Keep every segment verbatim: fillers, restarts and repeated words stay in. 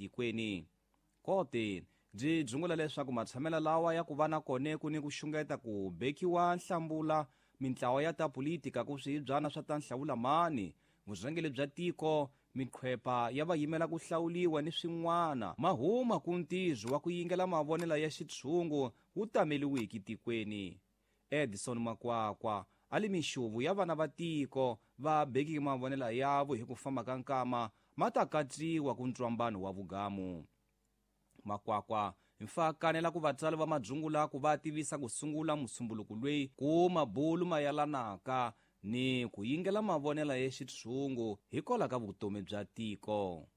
tikweni. Kote byi dzungula leswaku matshamela lawa ya ku va na kone ku ni ku xungeta ku bekiwa nhlambula mintlawa ya ta politika ku swibyana swa ta nhlawula mani, vurhangeri bya tiko, miqhwepa ya va yimela ku hlawuliwa ni swin'wana mahuma ku ntirho wa ku yingela mavonelo ya xitshungu wu tameliwiki tikweni. Edison Makwakwa a li mixuvu ya vana va tiko va bekiki mavonelo yavo hi ku famba ka nkama ma ta katsiwa ku ntwambano wa vugamu. Makwakwa mfa kanela ku vatswari va madzungula ku va tivisa ku sungula musumbuluko loyi ku mabulu mayalanaka ni ku yingela mavonelo ya xitshungu hikwalaho ka vutomi bya tiko.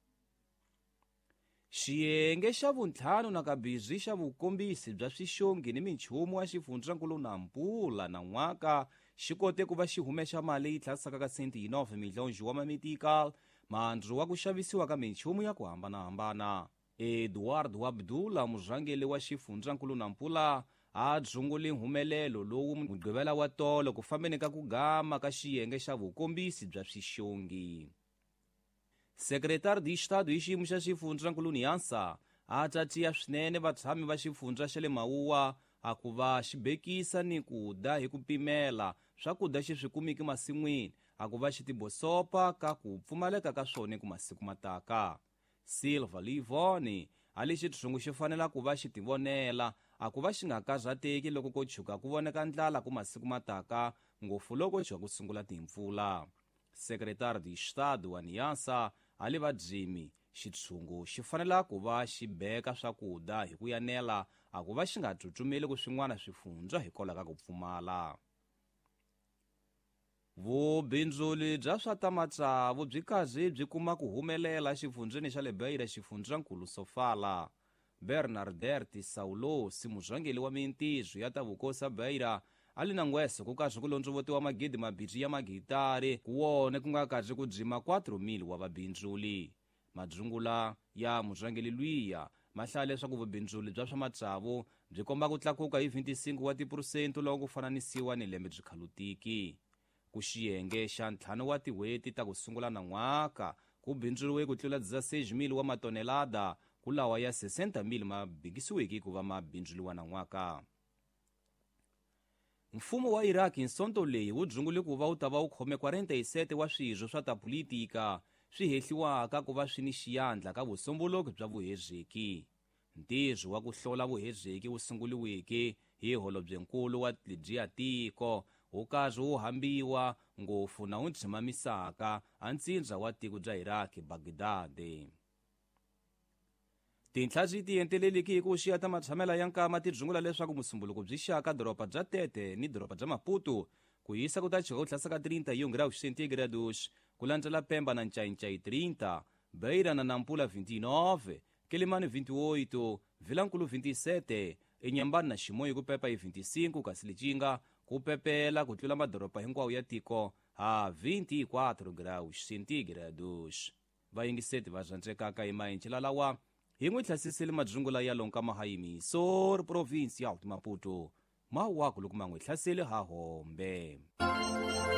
Xiyenge xa vuntlhanu na kabirhi xa vukombisi bya swixongi ni minchumu wa xifundzankulu Nampula na n'waka xi kote ku va xi humexa mali yi tlhasaka ka senti yi nove milhonji wa mametical mandzu wa ku xavisiwa ka minchumu ya ku hambanahambana. Eduardo Abdullah murhangeri wa xifundzankulu Nampula a dzungule nhumelelo lowu mugqivela wa tolo ku fambeni ka ku gama ka xiyenge xa vukombisi bya swixongi. Secretário de Estado hi xiyimo xa xifundzankulu Niansa a tatiya swinene vatshami va xifundza xa le Mawuwa a ku va xi bekisa ni ku da hi ku pimela swakudya xi swi kumiki masin'wini a ku va xi tibosopa ka ku pfumaleka ka swona ku masiku mataka. Silva Livoni a li xitshungu xi fanela ku va xi tivonela a ku va xi nga karhateki loko ko tshuka ku voneka ndlala ku masiku mataka ngopfu loko tshuka ku sungula timpfula. Secretário de Estado wa Niansa a li vadzimi xitshungu xi fanela ku va xi beka swakudya hi ku yanela a ku va xi nga tsutsumeli ku swin'wana swifundza hikwalaho ka ku pfumala. Vubindzuli bya swa ta matsavu byi kazi byi kuma ku humelela xifundzeni xa le Beira xifundzankulu Sofala. Bernadette Saulosi murhangeri wa mintirho ya ta vukosi Beira a li na ngweso ku kazi ku londzovotiwa magidi mabirhi ya magitari ku wona ku nga kazi ku dzima quatro mil wa vabindzuli. Madzungula ya murhangeri lwiya ma hlaya leswaku vubindzuli bya swa matsavu byi komba ku tlakuka hi vinte e cinco wa tiphurosente loko ku fananisiwa ni lembe byi khalutiki. Ku xiyenge xa ntlhanu wa tin'hweti ta ku sungula na n'waka ku bindzuriwe ku tlula dezesseis mil wa matonelada ku lawa ya sessenta mil ma bikisiweke ku va ma bindzuriwa na n'waka. Mfumo wa Iraq hi Sonto leyi wu dzungule ku va wu ta va wu khome quarenta e sete wa swirho swa ta politika swi hehliwaka ku va swi ni xiyandla ka vusombuluki bya vuhezeki. Ntirho wa ku hlola vuhezeki wu sunguriweke hi holobyenkulu wa ledyiya tiko wu karhi wu hambiwa ngopfu na wu ndzimamisaka a ntsindza wa tiko bya Iraq Baghdad. Tinhla byi tienteleliki hi ku xiya ta matshamela ya nkama ti dzungula leswaku musumbuluko byi xaka doroba bya Tete ni doroba bya Maputo ku hisa ku ta chika ku tlhasa ka trinta e um graus centígrados ku landzela Pemba na Ncayincai trinta, Beira na Nampula vinte e nove, Quelimane vinte e oito, Vilankulu vinte e sete, Inhambane na Chimoio ku pepa hi vinte e cinco kasi Lichinga ku pepela ku tlula madoroba hinkwawo ya tiko ha vinte e quatro graus centígrados. Vayingiseti va rhandzekaka hi maenjela lawa hi n'wi hlasisile madzungula ya lonka mahayimiso province ya Maputo mawaku loko ma n'wi hlasele ha hombe.